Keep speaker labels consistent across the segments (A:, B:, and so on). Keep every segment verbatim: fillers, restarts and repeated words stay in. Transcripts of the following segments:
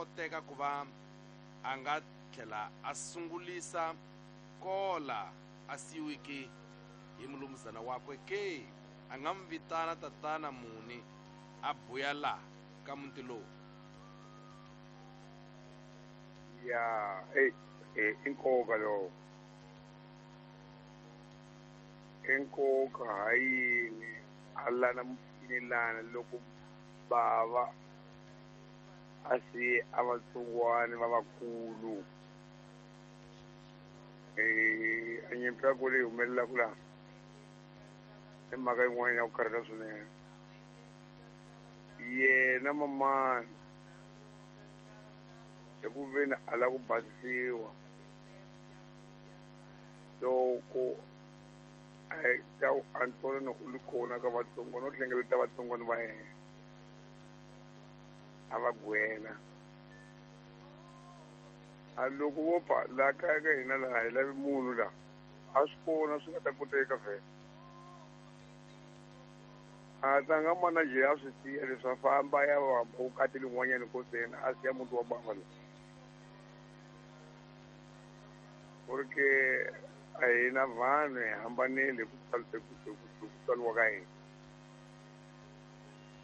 A: koteka ku va a nga tlhela a sungulisa kola a siyiwiki hi mulumuzana wakwe ke? A nga n'wi vitana tatana muni a buya laha ka muti lowu?
B: Ya, eh eh i nkoka lowu. I nkoka ha yini a lana mupfinelana loko bava a siye a vatsongwana va vakulu? Eh a nyimpi ya ku leyi humelelaka laha i mhaka yin'wana ya ku karhata swinene. Yena mamani eku veni a lava ku basisiwa loko a ta Antonio u li kona ka vatsongwana, u hlengeleta vatsongwana va yena a va gwela. A loko vo pfa laha kaya ka hina laha hi lavi munhu laha, a swi kona swi nga ta koteka vhele. A tlanga manager a swi siya leswi a famba ya vamba vukati lin'wanyana koseni a siya muti wa bava laha. Ku ri ke a hina vanhu hi hambanile hi ku hi ku tswariwa ka hina.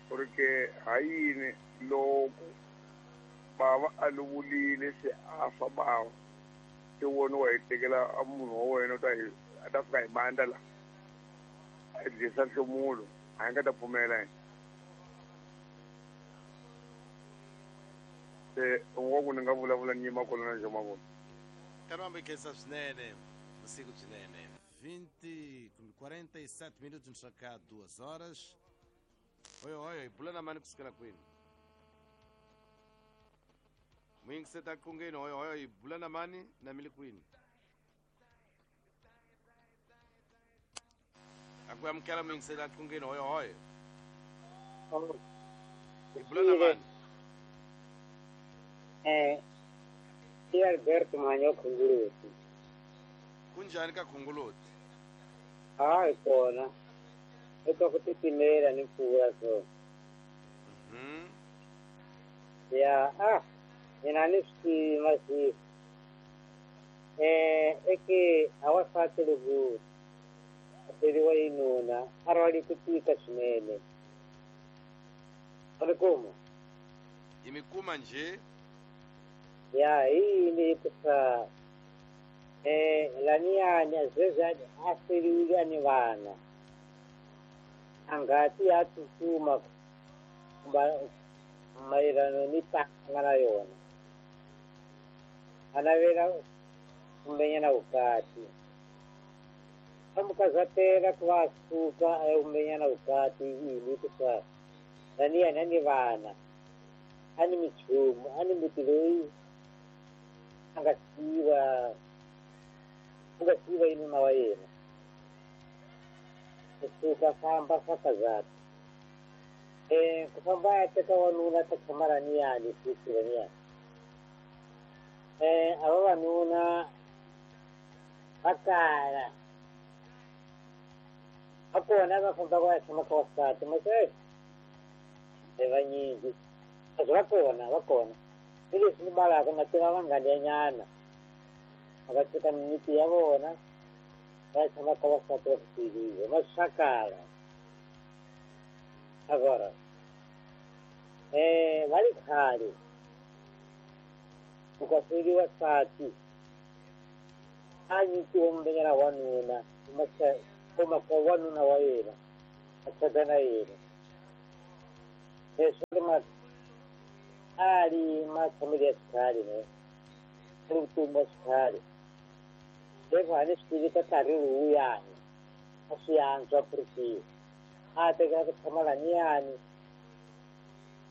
B: Ku ri ke ha yini loko bava a lovile se a fa bava se wona wa hi tekela a munhu wa wena u ta hi a ta fika hi bandla la a dlisa nhlomulo, a hi nga ta pfumela yena. Se wa ku ni nga vulavula ni yima kona na Joe Mavona.
A: Caramba, khensa swinene, vusiku byinene. vinte quarenta e sete minutos cá duas horas. Oi, oi, bula na mani kusukela kwini? Muyingiseta qungeni, oi, oi, bula na mani na mili kwini? Akuyamukela muyingiseta qungeni, oi, oi. Bula na mani?
C: Eh, i Alberto Manyo Khunguluti.
A: Kunjani ka Khunguluti?
C: Hayi kona. Eka ku titimela ni mpfula so.
A: Mhm.
C: Ya, ah, mina ni swi masi. Eh, eke awasati loko aferiwa hi nuna, a rhwale ku tika swinene. A ri kuma?
A: Hi mi kuma njhe?
C: Ya, hi yini hikusa eh laniyani sweswi a feriwile ni vana. A ngati ya tsutsuma mayelana ni tanga na yona. A navela kumbenyana vukati. A mukazatela ku va a suka a ya kumbenyana vukati yini hikusa laniyani a ni vana, a ni minchumu, a ni muti loyi a nga siyiwa, ku nga siyiwa hi nuna wa yena. Ku suka famba swa kazata. Eh, ku famba ya teka wanuna ta tshama laniyani futhi laniyani. Eh, a vavanuna va kala. Va kona va famba va ya tshama ka vasati, mase i vanyingi. Kasi va kona, va kona. Hi leswi ni balaka na tiva vanghana ya nyana. Va va teka mimiti ya vona va ya tshama ka vasati va ku tivile, ma swa kala. Agora, eh, va ri khale ku ka feriwa nsati a nyikiwa mbenyana wanuna kuma ka wanuna wa yena a tshata na yena. Leswi ri ma a ri matshamelo ya xikhale ne a ri vutomi bya xikhale. Leswi a ni swi tivi ka nkarhi lowuyani a swi antswa ku ri kwihi. A tekela ku tshama laniyani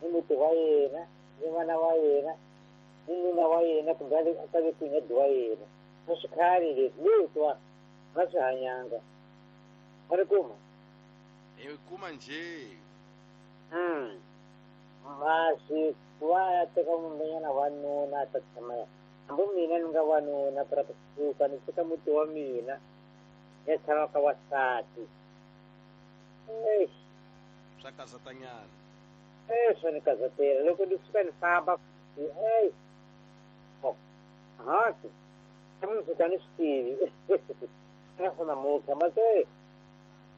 C: ni muti wa yena ni n'wana wa yena ni nuna wa yena kumbe a ta ve kwini wa yena. A swi khale leswi leswiwa va swi hanyanga. Va ri kuma?
A: Hi kuma njhe?
C: Mm. Masi ku va ya teka mumbenyana wanuna a ta tshama ya. Hambi mina ni nga wanuna ku ra kusuka ni teka muti wa mina ya tshama ka wasati. Eish.
A: Swa kazatanyana.
C: Eh, swa ni kazatela. Loko ni suka ni famba Ei haki mundzuku a ni swi tivi naswona namuntlha ma se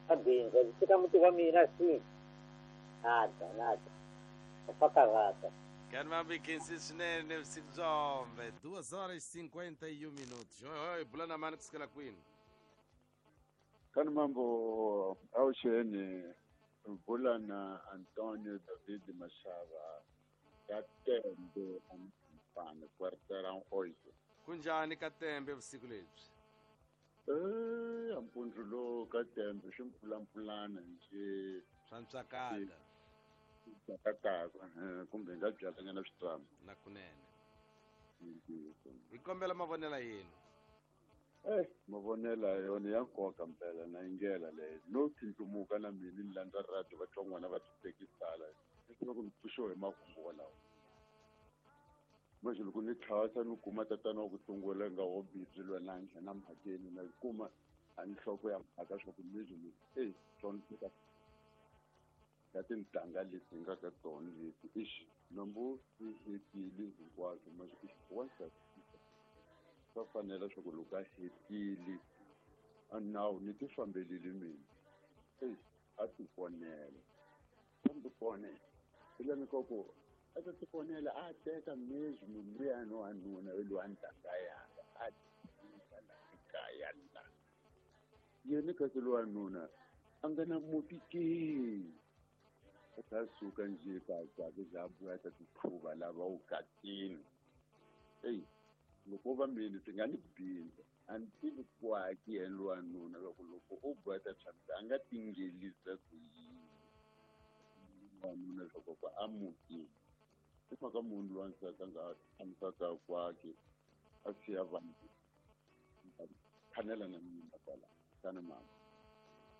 C: a bindzu ndzi fika muti wa mina si nada nada fa karhata.
A: Kani khensi swinene vusiku byombe duas horas e cinquenta e um minutos. Oi oi bula na mani kusukela kwini?
D: Kani mambo awuxeni bula na Antonio David Mashava ka Tembe Ampane quarteirão oito.
A: Kunjani ka Tembe vusiku lebyi?
D: Eh ampundzu lowu ka Tembe swi mpfulampfulana nje
A: swa ntswakata
D: tsakataka kumbe hi nga byalanyana switrama
A: na kunene. Hi kombela mavonela yenu.
D: Eh mavonela yona ya nkoka mpela na yingela leyo no tintumuka na mina ni landza radio vatsongwana va titekisala leswaku ni pfuxiwa hi makungu walawo. Manje loko ni tlhasa ni kuma tatana wa ku sungula nga wo bibyi lwa na nghena mhakeni na kuma a nhloko ya mhaka swa ku mizwi ni eh tsona ka tintangha leti nga ka tona leti ixi nambu ti hetile hinkwaswo manje ixi swa fanela swa ku loko a hetile a nawu ni ti fambelile mina eyi a ti ponela a ti ponela ilani ka ku a ta ti ponela a teka mezwi munhu luyani wanuna lowa ntangha yanga a tika la ekaya la yena kasi lowanuna a nga na muti ke u ta suka nje ka za buya ta tiphuva lava u katini eyi loko va mina swi nga ni bindza a ni tivi kwaki yena lowanuna loko loko u buya ta tshamisa a nga tingelisa ku yini wanuna leswaku ku a mutini i mhaka munhu lowa nsati a nga tshamisaka kwaki a siya vanhu khanela na mina kwala kana mama.